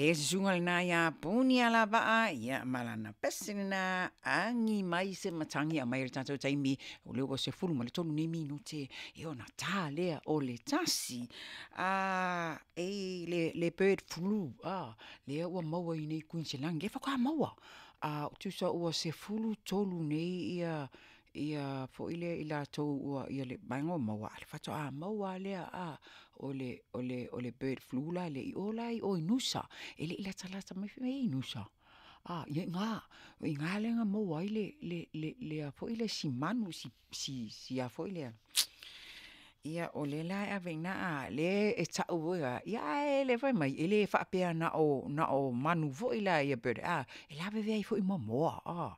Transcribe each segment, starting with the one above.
Le susuga lena ia Punialavaa, ia ma lana pese lena, agi mai se matagi e aumai i le tatou taimi, o lea ua 13 nei minute ia ona ta lea o le 1. E le bird flu lea ua maua i inei i Kuiniselani, lea faatoa maua. Tusa ua 13 nei ia foi lea i latou ua, le vaega ua maua, ae faatoa maua lava lea o le bird flu la lea i o la i Nusa. E le i latalata mai fai mea e i ai Nusa. Ia i ina, o i ina lea na maua ai le si manu, si a foi lea, ia o lea la e ave i ina, lea e tau foi la, ae fai mai, e le faapea na o manu foi la ia bird e lavevea ai foi ma moa.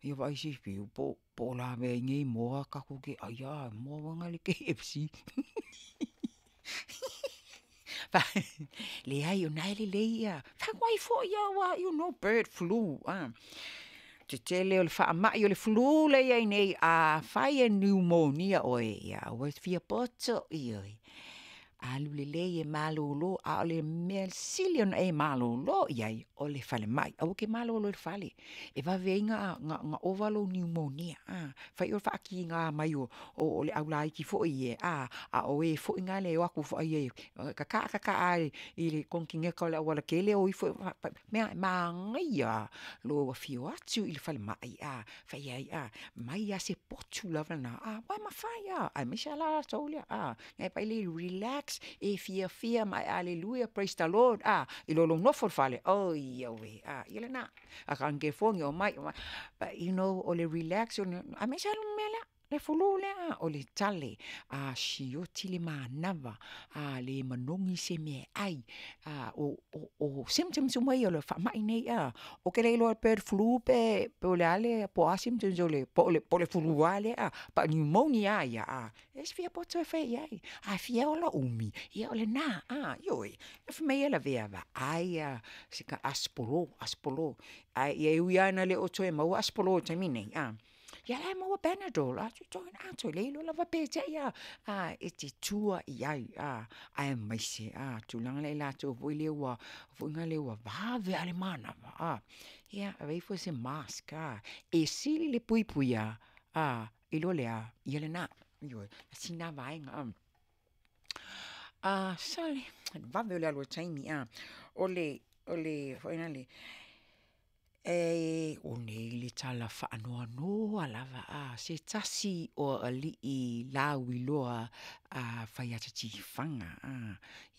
Ia vaai se i po o lavea ai nei moa tatou te aia, moa foi na o le KFC. Leai o lena e lelei ia, fai atu foi lava aua you know bird flu. Tetele o le faamai o le flu lea e i ai nei, afai e niumonia oe, ia aua e te fia poto, ioe, alu lelei e malolo, a o le mea sili ona e malolo i ai, o le falemai, aua e te malolo i le fale, e vave ai ona ova lou niumonia. Fai oe faatiga mai o le aulaiti foi ia, a o e foi na e o atu e tata'a tata'a i le konekeneta o le aualatele o ifo, mea e manaia lava lou afio atu i le falemai, fai ai, aumai lava se potu lava lena, aua e mafai lava, aemaise lava latou ia e vaai e relax, e fiafia ma e aleluia praise the Lord i lo lou nofo i le fale, oi auē, ia lena. A ta ona telefoni, omai, but you know o le relax aemaise lava le mea lea, le flu lea, o le tale, a sioti le manava, a le manogi se meaai, o symptoms uma ia o le faamai nei, ou te le iloa pe o le flu po o le a po o a symptoms po o le flu lava lea, po o le pneumonia lava ia, e te fia poto e fai i ai. A fia ola umi, ia o lena, ioe, fai mai e lavea, vaai si ta aspolo, aspolo. Ae ui lava ina le toe maua aspolo i le taimi lenei, a la e maua panadol, a toe le iloa lava pe te i lava e te tua i ai, aemaise le tulaga lea ia i latou foi ia ua vave lava le manava, ia ave ifo se mask, e sili le puipuia i lo le a, ia lena, ioe, tasi lena vaega. Sole, o le vave o le alu o le taimi, o le foi lale, o nei le tala faanoanoa lava a se tasi o alii lauiloa fai ata tifaga,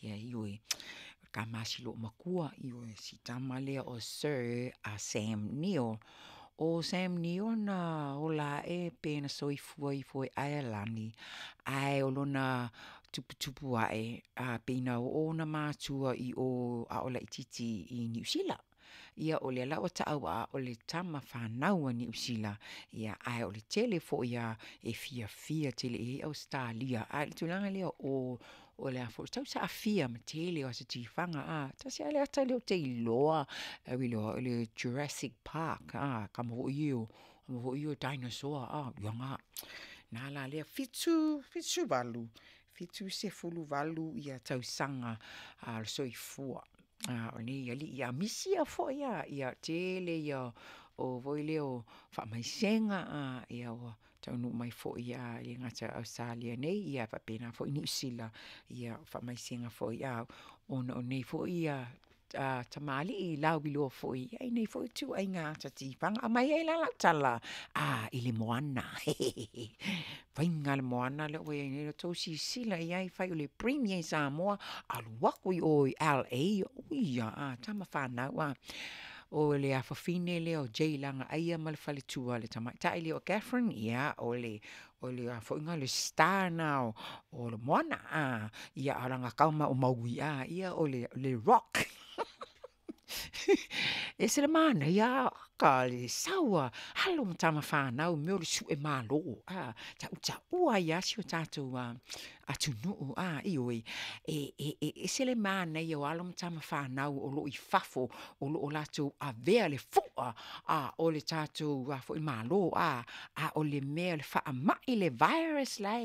ioe, o le tama a si loomatua, ioe, si tama lea o Sir Sam Nio. O Sam Nio na ola ae pe na soifua ifo i Aelani, ae o lona tuputupu ae pei na oo ona matua i o a o laitiiti i Niu Sila. Ia o lea la ua tau o le tama fanau a Niu Sila, ae o le tele foi lava e fiafia tele i ai Ausetalia, ae o le tulaga lea o le tau aafia ma le tele o aso tifaga, tasi lava le ata lea ou te iloa, o le Jurassic Park, tama foi ia o dinosaur, ia na. O lena la lea, 78, 78 tausaga o le soifua o lenei alii, a misia foi lava, le tele ia o faamaisega ua taunuu mai foi e le gata i Ausetalia nei, ae faapena foi Niu Sila, o faamaisega foi ona o nei foi tamalii lauiloa foi i nei foi ituaiga ata tifaga. Aumai ai la lau tala i le Moana. Faiga lava le Moana lea ua i ai nei, ia outou silasila i ai, fai o le Premier i Samoa, alu atu i o i LA, ui ia, tama fanau a, o le afafine lea o Jay Lagaaia ma le faletua le tamaitai lea o Katherine, ia o le a foi lena o le star lena o le Moana, a o lana tama o Maui, ia o le Rock. Ese le manaia ka le sau a alo ma tama fanau i mea o le sue malo, a, tautaua ai lava si o tatou atunuu, a, ioe. E ese le manaia o alo ma tama fanau o lo o i fafo o lo o latou avea le fua o le tatou Malo, a o le mea o le faamai le virus la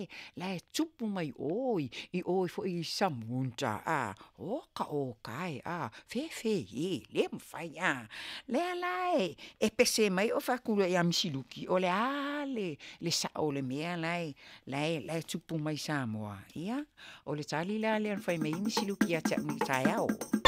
e tupu mai o i o foi i Samuta, oka oka e, fefe e, le mafai a. Lea la e pese mai ou fai atu loa ia Misi Luki, o le a le sao o le mea la e tupu mai Samoa? Ia, o le tali la lea na fai mai ai Misi Luki ia te au i le taeao.